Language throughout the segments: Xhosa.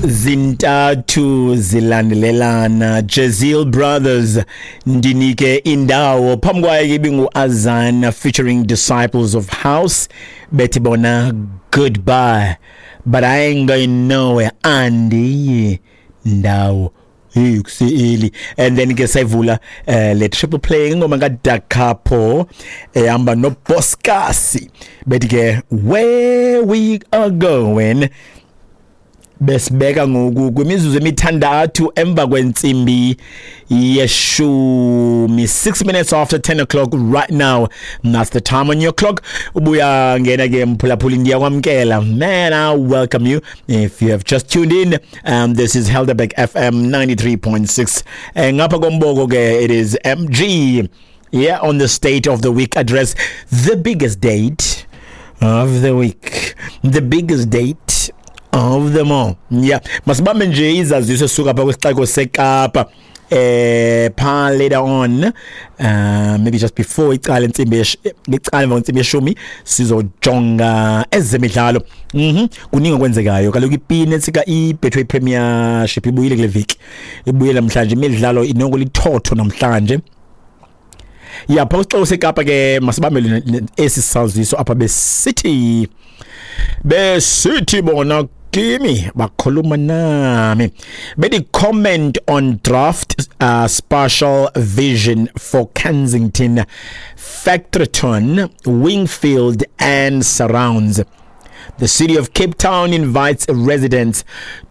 Zintathu zilandelelana, Jezeel Brothers, Ndinike Indawo. Phambi kwayo ke ibingu-Azana featuring Disciples of House, bethi bona Goodbye, but I ain't going nowhere, andiyi ndawo. Hey, kuse-early. And then ke sayivula le triple play, ingoma kaDakapo ehamba noBoskasi, bethi ke Where We Are Going. Besibeka ngoku kwimizuzu emithandathu emva kwentsimbi yeshumi, 6 minutes after 10 o'clock right now. That's the time on your clock. Ubuya ngena ke mphulaphuli, ndiyakwamkela. Man, I welcome you if you have just tuned in. This is Helderberg FM 93.6, and ngapha komboko ke it is MG, yeah, on the State of the Week address, the biggest date of the week, the biggest date of them all. Yeah, masibambe nje izaziso esuka pha kwisixeko seKapa pha later on, maybe just before icala intsimbi, icala emva kwentsimbi yeshumi, sizojonga ezemidlalo. Kuningi okwenzekayo kaloku. Ipini etsika iBetway Premiership ibuyile kule veki, ibuyile namhlanje, imidlalo inoko lithotho namhlanje. Ya, pha kwisixeko seKapa ke masibambe esi saziso apha. Besithi bona kimi, bakhuluma nami, bethi comment on draft spatial vision for Kensington, Factoryton, Wingfield and surrounds. The City of Cape Town invites residents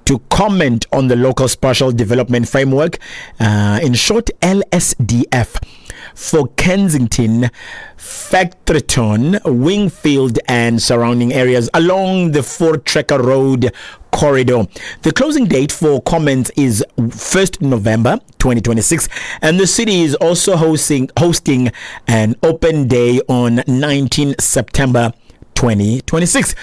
to comment on the Local Spatial Development Framework, in short LSDF, for Kensington, Factoryton, Wingfield and surrounding areas along the Voortrekker Road corridor. The closing date for comments is 1st November 2026, and the city is also hosting an open day on 19 September 2026.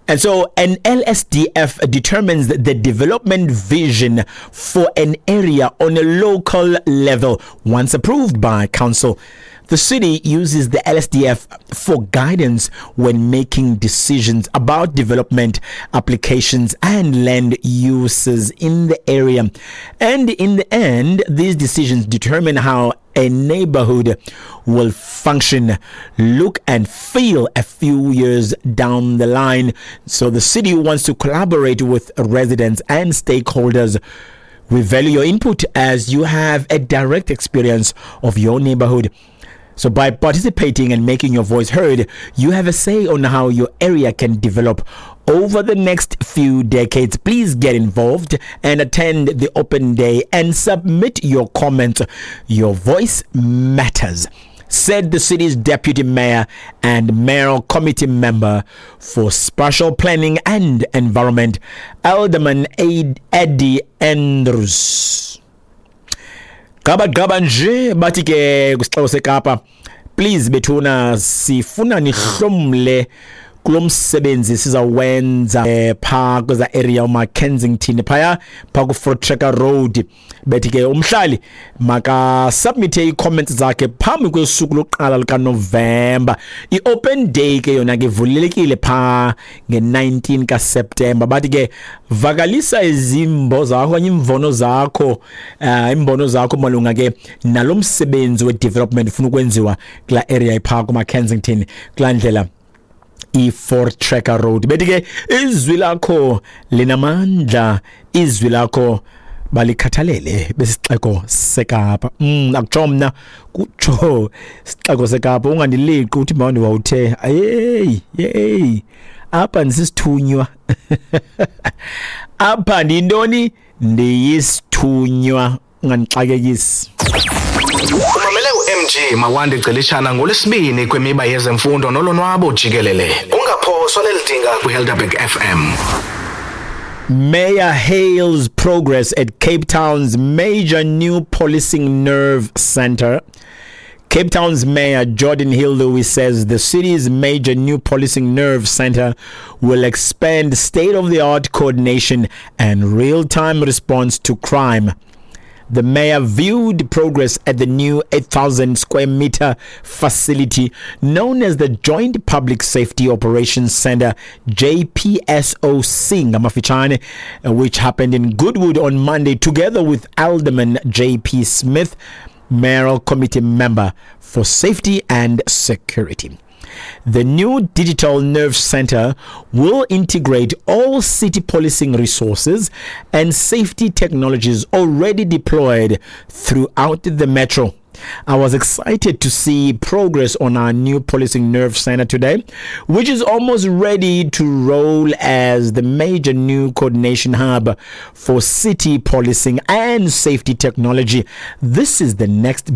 And so an LSDF determines the development vision for an area on a local level once approved by council. The city uses the LSDF for guidance when making decisions about development applications and land uses in the area. And in the end, these decisions determine how a neighborhood will function, look, and feel a few years down the line. So the city wants to collaborate with residents and stakeholders. We value your input as you have a direct experience of your neighborhood. So by participating and making your voice heard, you have a say on how your area can develop over the next few decades. Please get involved and attend the open day and submit your comments. Your voice matters, said the city's deputy mayor and mayoral committee member for spatial planning and environment, Alderman Eddie Andrews. Gaba gaba nje, bathi ke kwisixeko seKapa, please bethuna, sifuna nihlomle kulo msebenzi sizawenza phaa kweza area uma Kensington, phaya phaa ku-Voortrekker Road. Bethi ke umhlali makasubmithe ii-comments zakhe phambi kwesuku lokuqala likaNovemba. I-open day ke yona ke ivulelekile phaa nge-19 kaSeptemba. Bathi ke vakalisa izimbo zakho okanye imvono zakho, imbono zakho malunga ke nalo msebenzi we-development ufuna ukwenziwa kulaa area iphaa kuma-Kensington, kulaa ndlela i-Voortrekker Road. Bethi ke izwi lakho linamandla, izwi lakho balikhathalele besixeko seKapa. Akutsho mna, kutsho sixeko seKapa. Ungandileqi uthi mawundi wawuthe hey hey, apha ndisisithunywa, apha ndiyintoni, ndiyisithunywa, ungandixakekisi. Umamele uMG Mawande Celishana ngolwesibini kwimiba yezemfundo nolonwabo jikelele. Ungaphoswa leli dinga kwiHelderberg FM. Mayor hails progress at Cape Town's major new policing nerve center. Cape Town's Mayor Geordin Hill-Lewis says the city's major new policing nerve center will expand state-of-the-art coordination and real-time response to crime. The mayor viewed progress at the new 8,000 square meter facility known as the Joint Public Safety Operations Center, JPSOC, ngamafitshane, which happened in Goodwood on Monday, together with Alderman J.P. Smith, mayoral committee member for safety and security. The new digital nerve center will integrate all city policing resources and safety technologies already deployed throughout the metro. I was excited to see progress on our new policing nerve center today, which is almost ready to roll as the major new coordination hub for city policing and safety technology. This is the next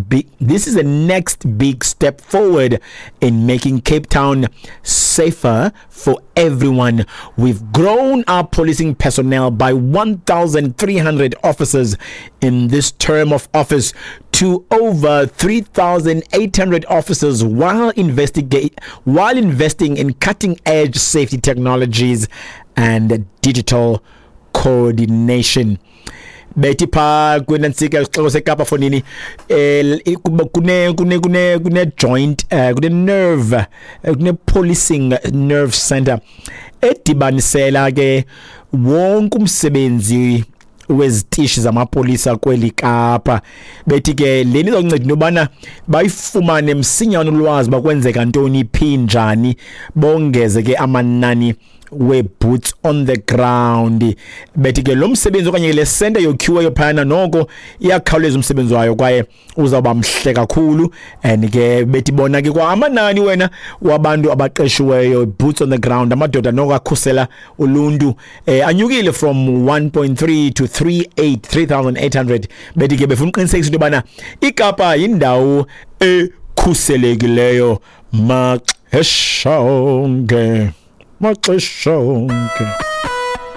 big step forward in making Cape Town safer for everyone. We've grown our policing personnel by 1,300 officers in this term of office to over 3,800 officers while investing in cutting edge safety technologies and digital coordination. Bethi phaa kwinantsika isixeko seKapa fonini, kune joint, kune nerve, kune policing nerve center edibanisela ke wonke umsebenzi wezitishi zamapolisa kweli Kapa. Bethi ke leni izonceda into yobana bayifumane msinyane ulwazi bakwenzeka ntoni, phi, njani, bongeze ke amanani we-boots on the ground. Bethi ke lo msebenzi okanye le center yokhiweyo phayana noko iyakhawuleza umsebenzi wayo kwaye uzawuba mhle kakhulu. And ke bethi bona ke kwa amanani wena wabantu abaqeshiweyo, boots on the ground, amadoda noko akhusela uluntu, anyukile from 1.3 to 38 3800. Bethi ke befuna uqinisekisa into yobana iKapa yindawo ekhuselekileyo maxesha onke, maxesha onke.